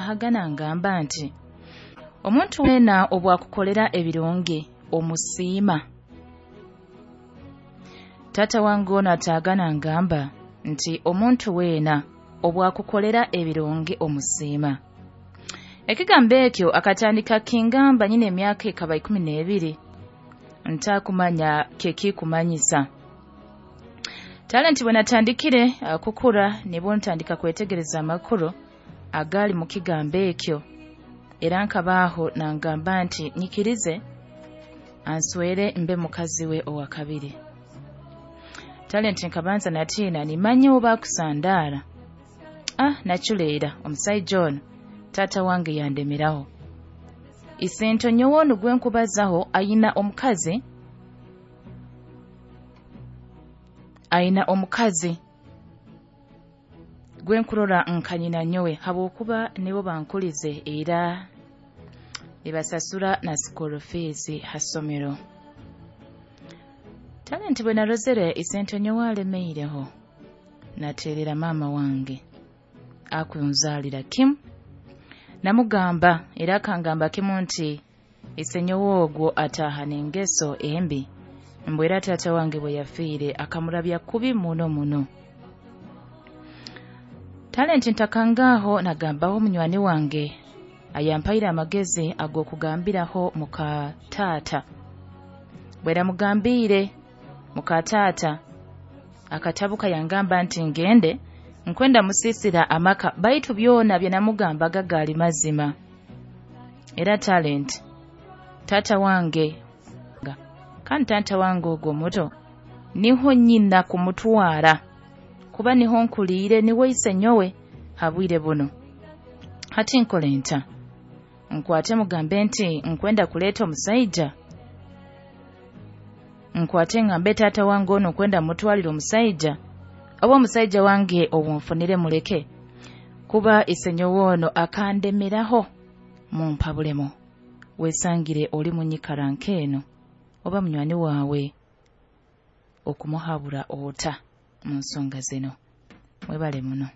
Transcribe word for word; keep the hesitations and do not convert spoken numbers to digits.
Ahagana ngamba nti omuntu weena obwakukolera ebirungi omusiima. Taata wange ono ataagana ngamba nti omuntu weena obwakukolera ebirungi omusiima. Ekigambo ekyo akatandika kingamba nyine emyaka ekaba ikumi n'ebiri, ntakumanya kyekikumanyisa. Talenti bwe natandikire uh, kukura nibwo ntandika kwetegereza amakuru agali mu kigambo ekyo, era nkabaaho nangamba nti nyikirize answere mbe mukazi we owa kabiri. Talenti nkabanza natiina, nimanya oba akusandaara. Ah, naculeera omusaija ono taata wange yandemeraho. Isento nyowe onu gwe nkubazaho ayina omukazi, ayina omukazi gwe nkurora nka nyina nyowe, habwokuba nibo bankulize era nibasasura na school fees ha ssomero. Talenti bwe narozere isento nyowe alemeireho, nateerera maama wange akunzaalira kimu, namugamba era akangamba kimu nti isenyowe ogwo ataaha n'engeso embi, mbwe era taata wange bwe yafiire akamurabya kubi muno muno. Talenti ntakangaaho nagambaho munywani wange ayampaire amagezi ag'okugambiraho muka taata. Bwe namugambiire muka taata akatabuka yangamba nti ngende nkwenda musiisira amaka, baitu byona bye namugambaga gaali mazima. Era Talenti taata wange kandi taata wange ogwo omuto niho nyina kumutwara kuba niho nkuliire, niwe isenyowe ha bwire buno. Hati nkole nta? Nkwate mugambe nti nkwenda kuleeta omusaija? Nkwate ngambe taata wange ono nkwenda mutwalira omusaija, oba omusaija wange obunfunire muleke, kuba isenyowe ono akandemeraho? Mumpabulemu. Wesangire oli munyikara nk'eno oba munywani waawe okumuhabura ota mu nsonga zino? Mwebale muno.